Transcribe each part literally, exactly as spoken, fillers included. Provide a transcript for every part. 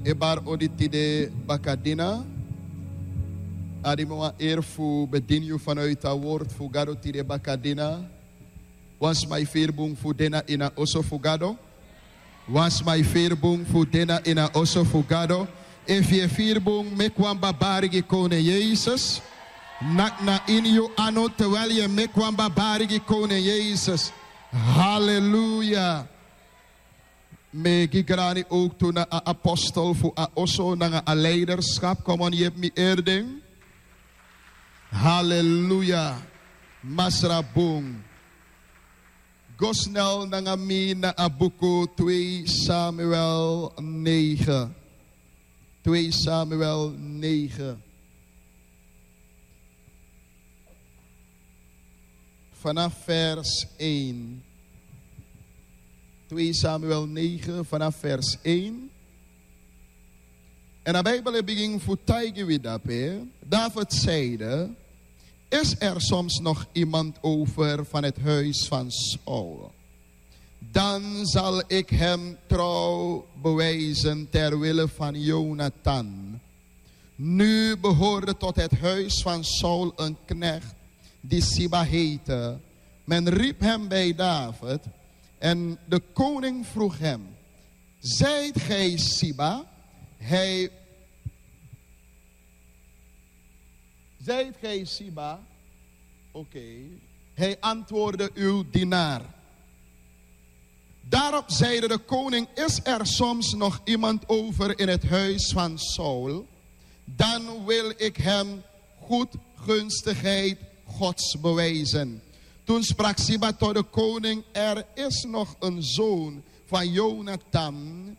E bari odi tide bakadina. A di mi wan eri fu bedini yu vanuit a word fu Gado tide bakadina. Wan sma e firi bun fu de na ini a oso fu Gado. Wan sma e firi bun fu de na ini a oso fu Gado. Efu yu e firi bun, meki wan babari gi Koning Yesus. Naki na ini yu anu terwijl yu e meki wan babari gi Koning Yesus. Haleluya. Mi e gi grani ook tu na a apostel fu a oso nanga a leiderschap. Come on, yepi mi eri den. Haleluya. Masra bun. Go snel nanga mi na a buku twee Samuel negen. Twee Samuel negen. Vanaf vers één. Twee Samuel negen, vanaf vers één. En a Bijbel e bigin fu taigi wi dape. David zeide: "Is er soms nog iemand over van het huis van Saul? Dan zal ik hem trouw bewijzen ter wille van Jonathan." Nu behoorde tot het huis van Saul een knecht die Siba heette. Men riep hem bij David en de koning vroeg hem: "Zijt gij Siba?" Hij, "Zijt gij Siba?" Oké. Hij antwoordde: "Uw dienaar." Daarop zeide de koning: "Is er soms nog iemand over in het huis van Saul? Dan wil ik hem goedgunstigheid Gods bewijzen." Toen sprak Siba tot de koning: "Er is nog een zoon van Jonathan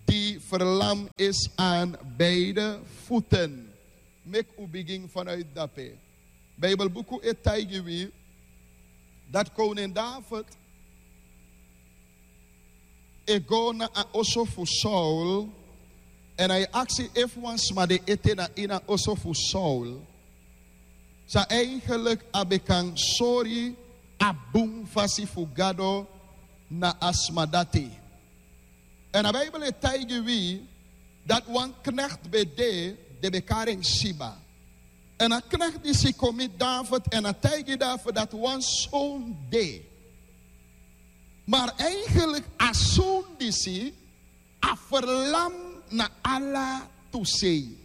die verlamd is aan beide voeten." Meki un bigin vanuit dape. Bijbelbuku e taigi wi dati koning David e go na a oso fu Saul, èn a e aksi efu wan sma de ete na ini a oso fu Saul, san eigenlijk a ben kan sori a bun fasi fu Gado na a sma dati. Èn a Bijbel e taigi wi dati wan knekti ben de, den ben kari en Siba. Èn a knekti disi kon miti David èn a taigi David dati wan son de. Maar eigenlijk a son disi a verlam na ala tu sei.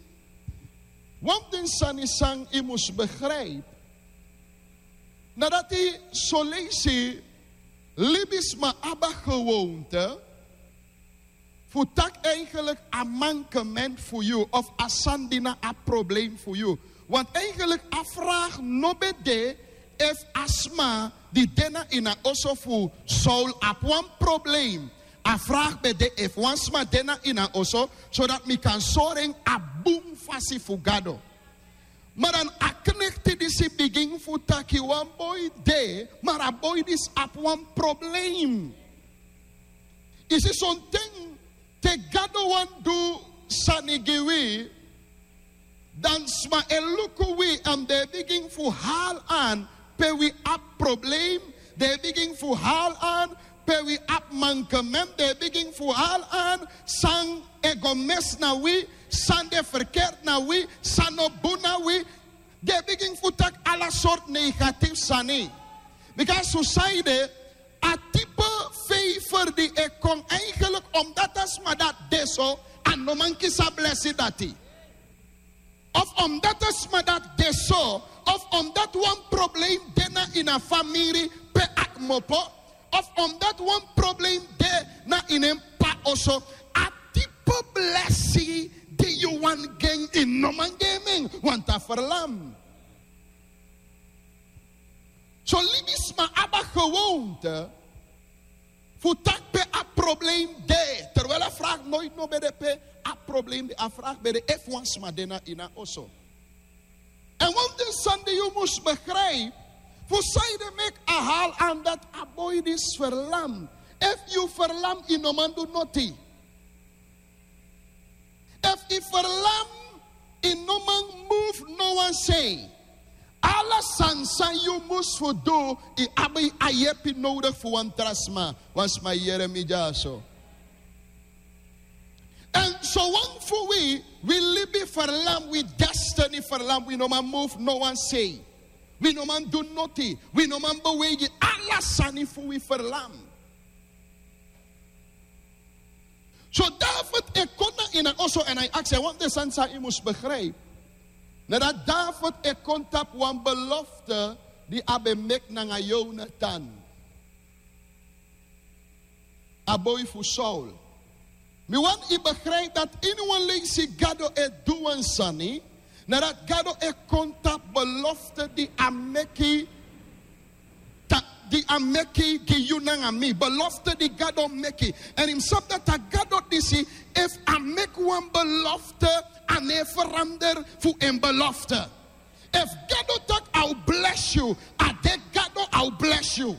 Wan fu den sani san yu mus begrijp, na dati son leisi libisma abi a gewoonte fu taki eigenlijk a mankement fu yu of a sani di na a probleem fu yu. Want eigenlijk a vraag no ben de efu a sma di de na ini a oso fu Saul abi wan probleem. A vraag ben de efu wan sma de na ini a oso, zodat mi kan sori en a bun fasi fu Gado. Maar dan a knekti disi bigin fu taki wan boi de, maar a boi disi abi wan probleem. Yu si, sonten te Gado wani du sani gi wi, dan sma e luku wi èn den e bigin fu hali an pe wi abi probleem. Den e bigin fu hali an pe wi abi mankement. Den e bigin fu hali an san e go mesi na wi, san de ferkerti na wi, san no bun na wi. Den e bigin fu taki ala sortu negatifu sani. Bika a sani de, a type fever di e kon, eigenlijk omdat a sma dati de so, a no man kisi a blesi dati. Of omdat a sma dati de so, of omdat wan probleem de na ini a famiri pe a kmopo, of omdat wan probleem de na ini en p'pa oso, a type blesi di yu wani gi en, yu no man gi en, want a verlam. Son libisma abi a gewoonte fu taki pe a probleem de, terwijl a vraag nooit no ben de pe a probleem de. A vraag ben de efu wan sma de na ini a oso. Èn wan fu den sani di yu mus begrijp, fu sanede meki a hali an dati a boi disi verlam. Efu yu verlam, yu no man du noti. Efu yu verlam, yu no man move no wan sei. Ala sani san yu mus fu du, yu abi a yepi nodigi fu wan tra sma. Wan sma yere mi dyaso. Èn So wan fu wi, wi libi ferlam, wi destiny ferlam, wi no man move no wan sei. Wi no man du noti, wi no man beweigi, ala sani fu wi ferlam. So David e kon na ini a oso èn a e aksi, want den sani san yu mus begrijp, na dati David e kon tapu wan belofte di a ben meki nanga Yonatan, a boi fu Saul. Mi wani yu begrijp dati ini wan leisi Gado e du wan sani, na dati Gado e kon tapu belofte di a meki, ta, di a meki gi yu nanga mi, belofte di Gado meki. Èn yu mus sabi dati a Gado disi, efu a meki wan belofte, a no e verander fu en belofte. Efu Gado taki a o bless yu, a de Gado a o bless yu.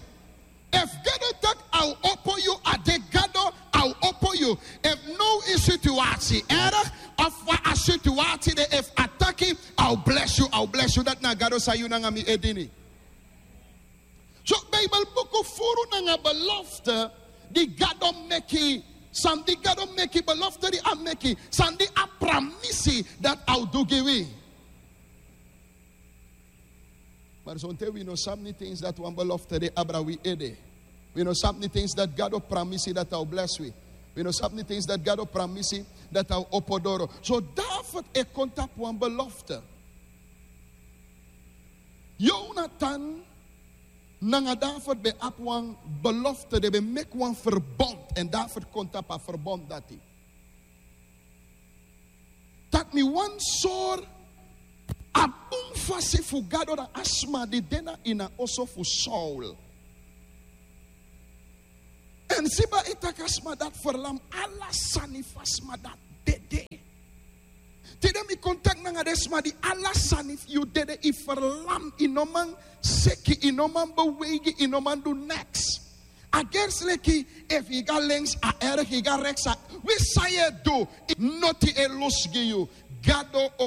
Efu Gado taki a o opo yu, a de Gado a o opo yu. Efu now yu situasi erg, of fa a situasi de, efu a taki a o bless yu, a o bless yu, dati na Gado san yu nanga mi e dini. So Bijbel buku furu nanga belofte di Gado meki, san di Gado meki, belofte di a meki, san di a pramisi dati a o du gi wi. Maar sonten wi no sabi niti eens dati wan belofte de abra wi ede. Wi no sabi niti eens dati Gado pramisi dati a o bless wi. Wi no sabi niti eens dati Gado pramisi dati a o opo doro. So David e kon tapu wan belofte. Yonatan nanga David ben abi wan belofte, den ben meki wan verbond, èn David kon tapu a verbond dati. Taki mi wani sori a bun fasi fu Gado na a sma di de na ini a oso fu Saul. Èn Siba e taki a sma dati ferlam, ala sani fu a sma dati dede. Tide mi kon taki nanga den sma di ala sani fu yu dede, yu ferlam, yu no man seki, yu no man beweigi, yu no man du neks. A gersi leki efu yu go na links a erg, yu go na rechts a, wi san yu e du, noti e lusu gi yu. Gado o